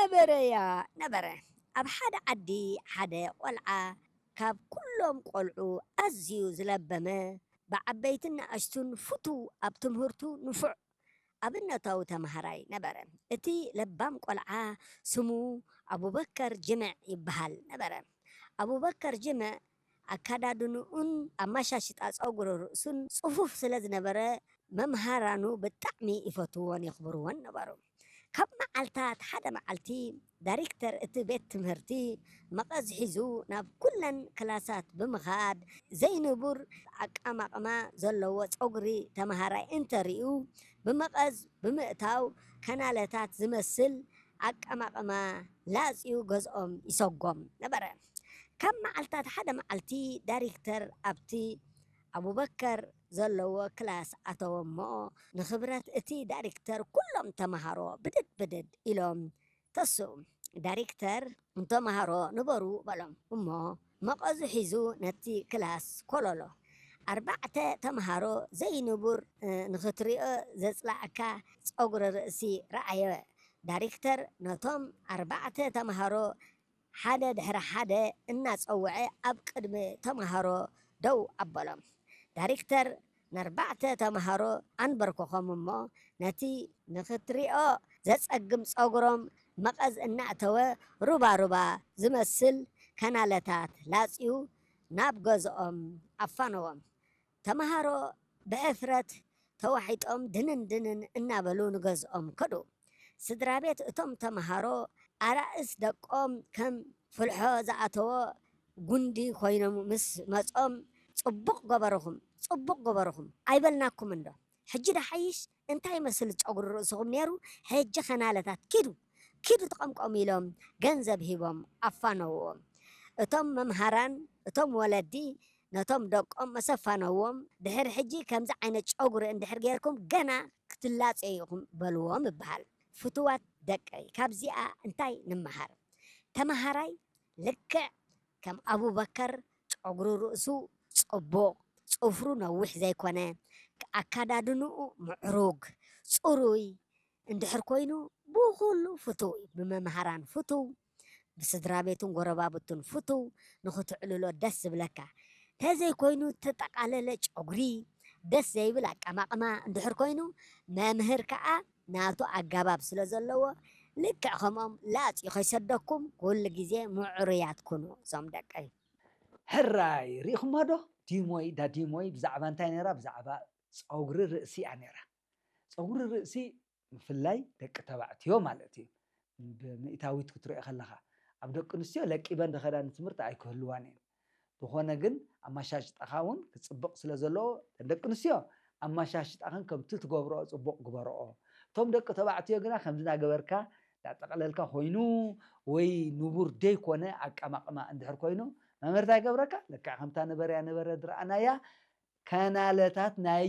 ነበረያ ነበረ። ኣብ ሓደ ዓዲ ሓደ ቆልዓ ካብ ኩሎም ቆልዑ ኣዝዩ ዝለበመ፣ ብዓበይትን ንኣሽቱን ፍቱው፣ ኣብ ትምህርቱ ንፉዕ ኣብነታዊ ተምሃራይ ነበረ። እቲ ለባም ቆልዓ ስሙ ኣቡበከር ጅምዕ ይበሃል ነበረ። ኣቡበከር ጅምዕ ኣካዳድንኡን ኣመሻሽጣ ጸጉሪ ርእሱን ጽፉፍ ስለ ዝነበረ፣ መምሃራኑ ብጣዕሚ ይፈትውዎን የኽብርዎን ነበሩ። ካብ መዓልታት ሓደ መዓልቲ፣ ዳይሬክተር እቲ ቤት ትምህርቲ መቐዝ ሒዙ ናብ ኩለን ክላሳት ብምኻድ፣ ዘይንቡር ኣቀማቕማ ዘለዎ ጸጉሪ ተምሃራይ እንተርእዩ፣ ብመቐዝ ብምእታው፣ ከናለታት ዝመስል ኣቀማቕማ ላጽዩ ገዝኦም ይሰጎም ነበረ። ካብ መዓልታት ሓደ መዓልቲ፣ ዳይሬክተር ኣብቲ ኣቡበከር ዘለዎ ክላስ ኣተወ እሞ፣ ንኽብረት እቲ ዳይሬክተር ኩሎም ተምሃሮ ብድድ ብድድ ኢሎም ተስኡ። ዳይሬክተር፣ ንተምሃሮ ንበሩ በሎም እሞ፣ መቐዙ ሒዙ ነቲ ክላስ ኮለሎ። ኣርባዕተ ተምሃሮ ዘይንቡር፣ እ፣ ንኽትሪኦ ዘጽላእካ ጸጉሪ ርእሲ ረኣየ። ዳይሬክተር ነቶም ኣርባዕተ ተምሃሮ ሓደ ድሕሪ ሓደ እናጸውዐ ኣብ ቅድሚ ተምሃሮ ደው ኣበሎም። ዳይሬክተር ንኣርባዕተ ተምሃሮ ኣንበርኮኾም እሞ፣ ነቲ ንኽትሪኦ ዘጸግም ጸጉሮም መቐዝ እናእተወ፣ ሩባ ሩባ ዝመስል ከናለታት ላጽዩ ናብ ገዝኦም ኣፋነዎም። ተምሃሮ ብሕፍረት ተዋሒጦም ድንን ድንን እናበሉ ንገዝኦም ከዱ። ስድራ ቤት እቶም ተምሃሮ፣ ኣራእስ ደቆም ከም ፍልሖ ዝኣተዎ ጉንዲ ኮይኖም ምስ መጾም፣ "ጽቡቕ ገበርኹም፣ ጽቡቕ ገበርኹም ኣይበልናኩም እንዶ? ሕጂ ደሓይሽ እንታይ ይመስል ጸጉሪ ርእስኹም ነይሩ? ሕጂ ከናለታት ኪዱ፣ ኪዱ ትቐምቀሙ" ኢሎም ገንዘብ ሂቦም ኣፋነውዎም። እቶም መምሃራን፣ እቶም ወለዲ ነቶም ደቆም መሰፋነዎም፣ "ድሕሪ ሕጂ ከምዚ ዓይነት ጨጉሪ እንድሕር ጌርኩም፣ ገና ክትላጸዩ ኢኹም" በልዎም ይበሃል። ፍቱዋት ደቀይ፣ ካብዚኣ እንታይ ንመሃር? ተመሃራይ ልክዕ ከም ኣቡበከር ጨጉሪ ርእሱ ጽቡቕ፣ ጽፍሩ ነዊሕ ዘይኮነ፣ ኣካዳድንኡ ምዕሩግ፣ ጽሩይ እንድሕር ኮይኑ፣ ብኹሉ ፍቱው እዩ። ብመምሃራን ፍቱው፣ ብስድራ ቤቱን ጎረባብቱን ፍቱው፣ ንኽትዕልሎ ደስ ዝብለካ። ተዘይኮይኑ፣ ተጠቓለለ ጨጉሪ፣ ደስ ዘይብል ኣቀማቕማ እንድሕር ኮይኑ፣ መምህር ከኣ ናቱ ኣገባብ ስለ ዘለዎ፣ ልክዕ ከምኦም ላጽዩ ከይሰደኩም፣ ኩሉ ግዜ ምዕሩያት ኩኑ እዞም ደቀይ። ሕራይ፣ ርኢኹሞ ዶ? ዲሞይ፣ ዳ ዲሞይ ብዛዕባ እንታይ ነይራ? ብዛዕባ ጸጉሪ ርእሲ እያ ነይራ። ጸጉሪ ርእሲ ምፍላይ ደቂ ተባዕትዮ ማለት እዩ። ብሚእታዊት ክትሪኦ ከለኻ፣ ኣብ ደቂ ኣንስትዮ ለቂበን ዝኸዳ ንትምህርቲ ኣይክህልዋን እየን። ዝኾነ ግን፣ ኣመሻሽጣኻ እውን ክጽብቕ ስለ ዘለዎ፣ እተን ደቂ ኣንስትዮ ኣመሻሽጣኽን ከምቲ ትገብርኦ ጽቡቕ ግበርኦ። እቶም ደቂ ተባዕትዮ ግና፣ ከምዚ እናገበርካ፣ እንዳጠቕለልካ ኮይኑ፣ ወይ ንቡር ደይኮነ ኣቀማቕማ እንድሕር ኮይኑ፣ መምህር እንታይ ይገብረካ? ልክዕ ከምታ ነበረያ ነበረ ዝረኣናያ፣ ከናለታት ናይ